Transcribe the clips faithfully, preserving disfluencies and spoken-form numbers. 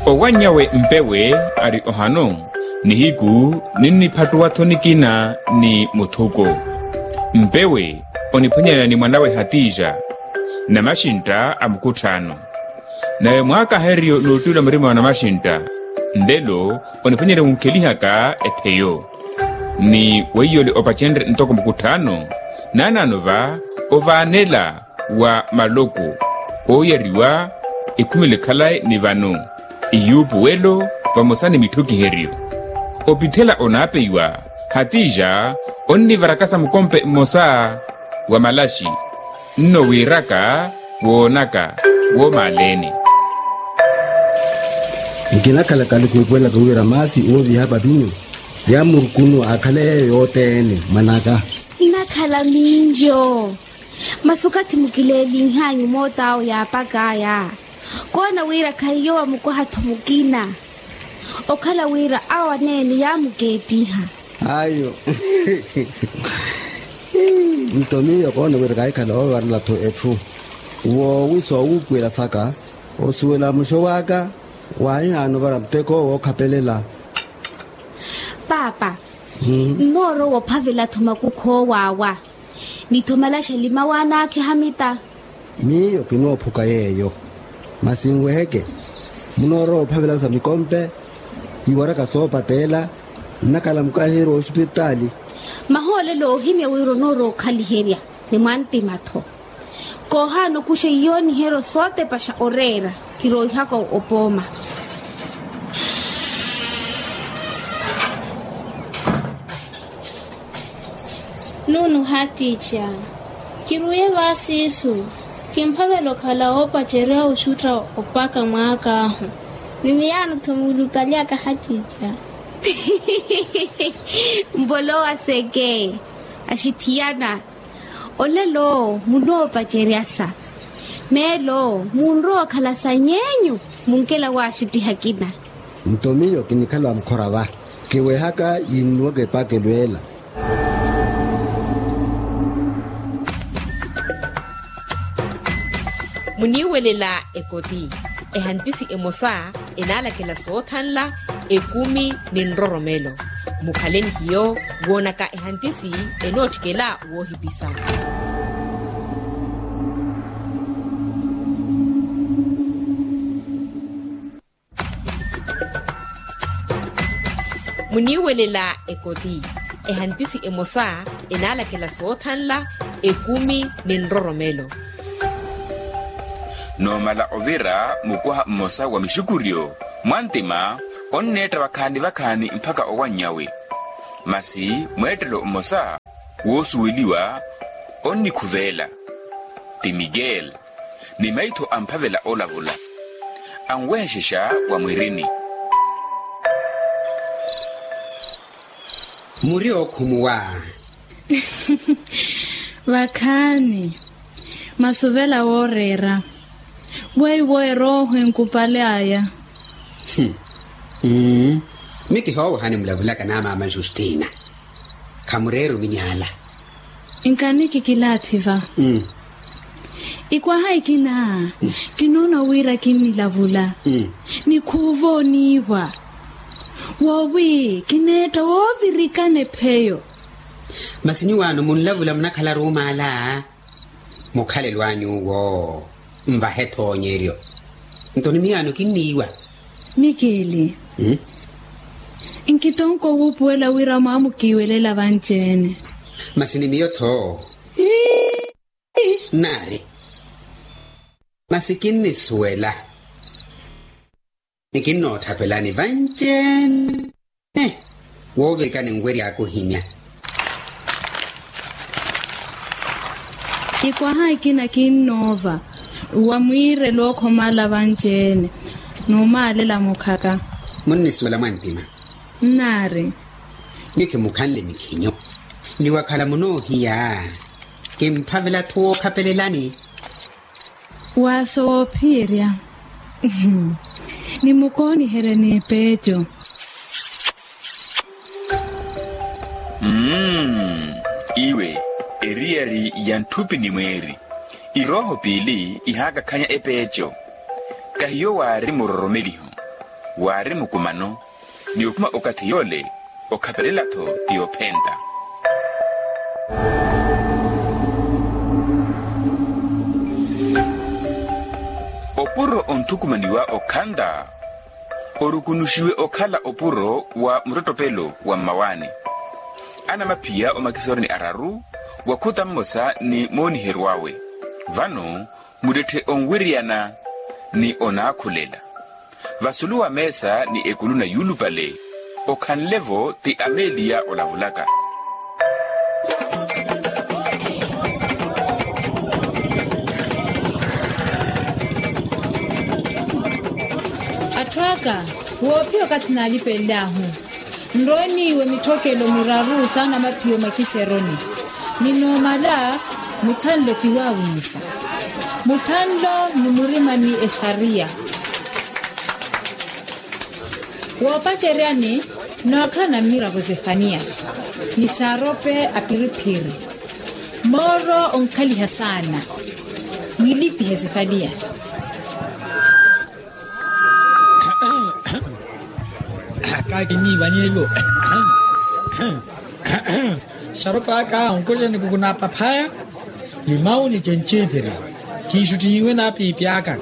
Owanny'awe mpewe ari ohano, nihiku ninniphattuwa-tho nikina ni muthuko. Mpewe oniphwanyana ni mwanawe hatija, namaxintta a mukutthaano. Nave mwaakahereryo n'uttula murima wa namaxintta, nlelo oniphwanyerya wunkhelihaka epheyo. Ni weiyole opacenrye ntoko mukutthaano, naanaano va ovaanela wa maloko ooyariwa ekhumele khalayi ni vano, iyuupuwelo vamosa ni mitthukiheryo. Opithela onaapeiwa, hatija onnivarakasa mukompe mmosa wa malaxi, nno wiiraka woonaka woomaaleni. Nkinakhala kaluku epuwelaka wira maasi ooviha papinyu ya murukunu akhale yeeyo yothene mwanaka. Nnakhala miyo. Masi okathi mukileelinhanyu moot'awe yaapak'aya, koona wira khahiyo wamukwaha-tho mukina. Okhala wira awo aneene yaamukeettiha. Ayo. Nto miyo koona wira kahikhala oovarela-tho etthu. Woowi soowuupuwela saka osuwela muxo w'aka, waahihaana ovara muteko wookhapelela. Paapa. Nnoorowa ophavela-tho makukhu owo awa, ni-tho malaxi alima waanaakhiha mita. Miyo kinoophuka yeeyo. Masi nweheke, munoorowa ophavela sa mikompe, iwaraka soopateela, nnakhala mukahiheryo w'osipitaali. Mahoolelo oohimya wira onoorowa okhaliherya ni mwantima-tho. Koohaana okuxa iyooniheryo sootepaxa oreera, kirooihaka opooma. Nunuha tiica. Kiruuye vaasiisu, kimphavela okhala woopacerya oxutta opaka mwaak'ahu. Ni miyaano-tho muulupalyaka hatiica. Mbolowa seke, axithiyana. Olelo munoopaceryasa, meelo munrowa okhala sany'enyu. Munkela waaxuttiha akina. Nto miyo kinikhala mukhora va, kiwehaka yinnuwaka epaakelo ela. Muniiwelela ekoti, ehantisi emosa enaalakela soothanla, ekumi ni nroromelo. Mukhale ni hiyo woonaka ehantisi enootthikela woohipisa. Muniiwelela ekoti, ehantisi emosa enaalakela soothanla, ekumi ni nroromelo. Noomala ovira mukwaha mmosa wa mixukuryo, mwantima onneetta vakhaani vakhaani mpakha owannyawe. Masi mweettelo mmosa woosuweliwa onnikhuveela, ti Miguel, ni maitho amphavela olavula, anwehexexa wa mwirini. Muri ookhumuwa. Vakhaani, masuvela wooreera weiwo erooho enkupale aya. Mmm. Mi kihoowahani mulavulaka na maama justina. Khamureera ominyaala. Nkani kikilaathi va. Ikwaha ikina kinoona wira kinnilavula ni khuuva oniiwa. Woowi kineetta woovirikana epheyo. Masi nyuwaano munlavula munakhala ruumaala. Mukhalelo anyu owo nvahe-tho onyeryo. Nto ni miyaano kinniiwa. Mikili. Nkitonko wuupuwela wira mwaamukiiwelela vanci-ene. Masi ni miyo-tho. Nnaari. Masi kinnisuwela. Ni kinnootthapelani vanci-ene woovirikani nweryaaka ohimya. Ikwaha ikina kinnoova wa mwiirelo okhomala vanci-ene noomaalela mukhaka. Munnisuwela mwantima. Nnaari. Nyuwo khimukhanle mikhinyu. Ni wakhala munoohiya kimphavela-tho wookhapelelani. Waaso woophiyerya. Nimukooniherye n'epeeco. Iwe eriyari ya ntthupi ni mweeri. Irooho piili ihaakakhanya epeeco. Kahiyo waari muroromeliho. Waari mukumano ni okhuma okathi yoole okhapelela-tho ti ophenta. Opuro onthukumaniwa okhanda orukunuxiwe okhala opuro wa muttottopelo wa mmawaani. Anamakhiya omakisoroni araru wakhuta mmosa ni mooniheryo awe. Vano muttetthe onwiriyana ni onaakhulela. Vasulu wa meesa ni ekuluna yuulupale okhanle-vo ti ameeliya olavulaka. Atthu aka, woophiya okathi naalipelel'ahu nrowe n'iwe mitthokelo miraru saana maphiyo makiseroni. Ninoomala muthanlo ti waawunyusa. Muthanlo ni murima ni exariya. Woopaceryani nookhala na mmiravo zefaniya ni xaarope apiriphiri. Mooro onkhaliha saana. Mwilipihe zefaniya. Kaakiniivanyevo. Xaropa aka onkoxa ni kuku na paphaya. Limau ni cencipiri. Kiixuttihiwe na piipi aka.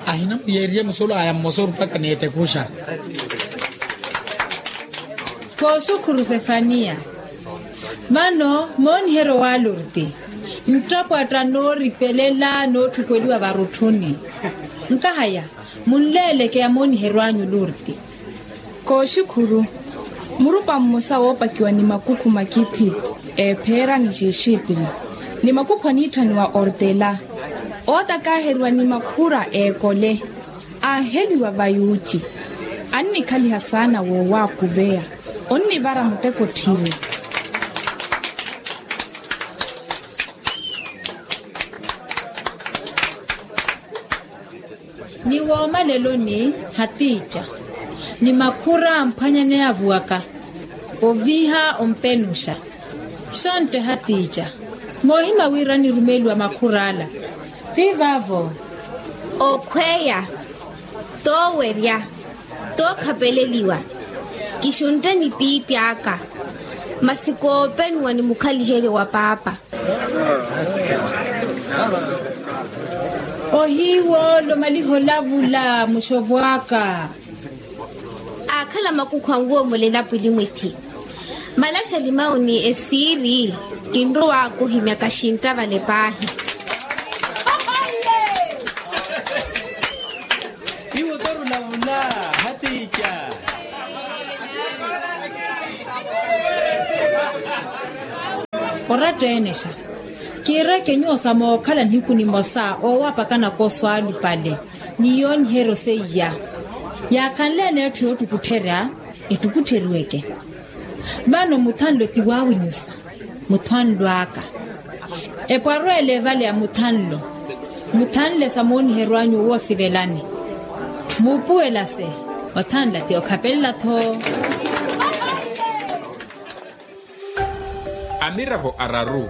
Ahina muyeeriye musolo aya mmosa orupaka ni ettekuxa. Kooxukhuru zefaniya. Vano mooniheryo wa lurti nttapwatta nooripelela nootthukweliwa varutthuni. Nkahaya munleeleke ya mooniheryo anyu lurti. Kooxukhuru. Murupa mmosa woopakiwa ni makukhu makithi eepheera ni xixipili ni makukhu aniitthaniwa ortela ootakaaheriwa ni makhura eekole. Aaheliwa va yuuci. Annikhaliha saana woowaakuveya. Onnivara muteko tthiri. Ni woomaleloni hatiica ni makhura amphwanyaneya avuwaka oviha ompenuxa. Xontte hatiica moohima wira nirumeliwa makhura ala. Ti vaavo. Okhweya, toowerya, tookhapeleliwa. Kixuntte ni piipi aka. Masi koopenuwa ni mukhaliheryo wa paapa. Ohiiwoolo maliha olavula muxovo aka. Aakhala makukhu anwoomolela pwili mwithi. Malaxa limau ni esiiri. Kinrowa kuhimya kaxintta vale paahi. Iwo torulavula hatiica. Oratta eenexa. Kiireke nyuwo sa mookhala nihiku nimosa oowapakana koswaalupale ni yooniheryo seiya. Yaakhanle-ene etthu yoottukuttherya ettukuttheryiweke. Vano muthanlo ti waawinyusa. Muthanlo aka. Epwarweele evale ya muthanlo. Muthanle sa mooniheryo anyu owoosivelani. Muupuwelase. Othanla ti okhapelela-tho. Amiravo araru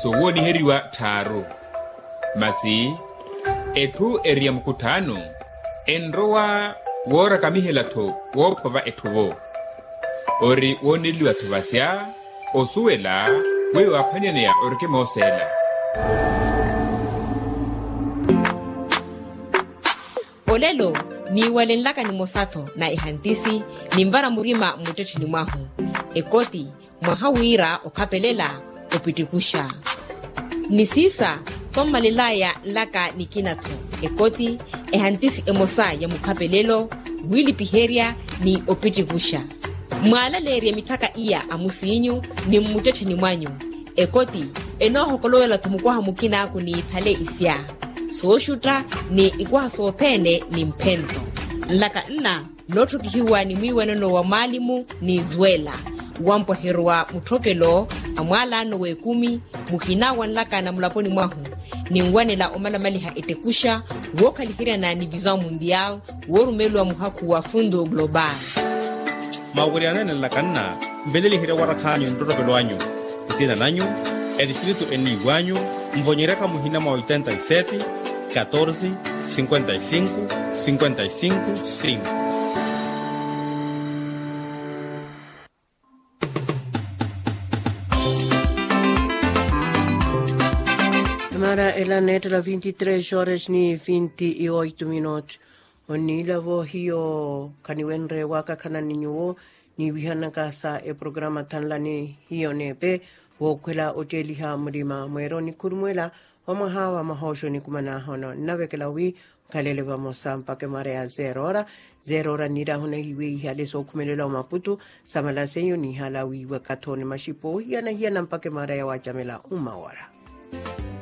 soowooniheriwa tthaaru. Masi etthu eri ya mukutthaano enrowa woorakamihela-tho woophova etthu-vo. Ori wooneliwa-tho vasya osuwela wi waaphwanyaneya orikimooseela. Olelo niiwalenlaka nimosa-tho na ehantisi ninvara murima mmuttettheni mwahu. Ekoti mwaha wira okhapelela opittikuxa. Ni siisa tommalelaya nlaka nikina-tho. Ekoti ehantisi emosa ya mukhapelelo wiilipiherya ni opittikuxa. Mwaalaleerye mitthaka iya a musiinyu ni mmuttettheni mwanyu. Ekoti enoohokolowela-tho mukwaha mukina kuniithale isya sooxutta ni ikwaha sothene ni mphento. Nlaka nna nootthokihiwa ni mwiiwanano wa mwaalimu ni zwela wampweheryo wa mutthokelo a mwaalaano w'ekumi muhina wa nlaka na mulaponi mwahu. Ninwanela omalamaliha ettekuxa wookhaliheryana ni vision mundial woorumeeliwa muhakhu wa fundo global. Mawiryanene nlaka nna nveleliherya warakhaanyu nttotopelo anyu. Nsina nanyu etistritu eniiwanyu nvonyeryaka muhina mwa oitenta y sete, katorse, sinkwenta y sinku, sinkwenta y sinku, sinku. Ara ela neettela vinti tres horas ni vinti oitu minutos. Oniilavo hiyo khaniwenre waakakhanani nyuwo niiwihanaka sa eprograma thanlani hiyo neepe wookhwela otteeliha mulima mweera onikhurumwela. Vamwaha va mahooxo nikumanaahono nnavekela wi nkhalele vamosa mpakha emara ya zero ora. Zero ora nniirahu nahiiwe ihale sookhumelela omaputu samalasenyo nihala wiiwa kathoni maxipo ohiyana-hiyana mpakha emara ya waacamela uma ora.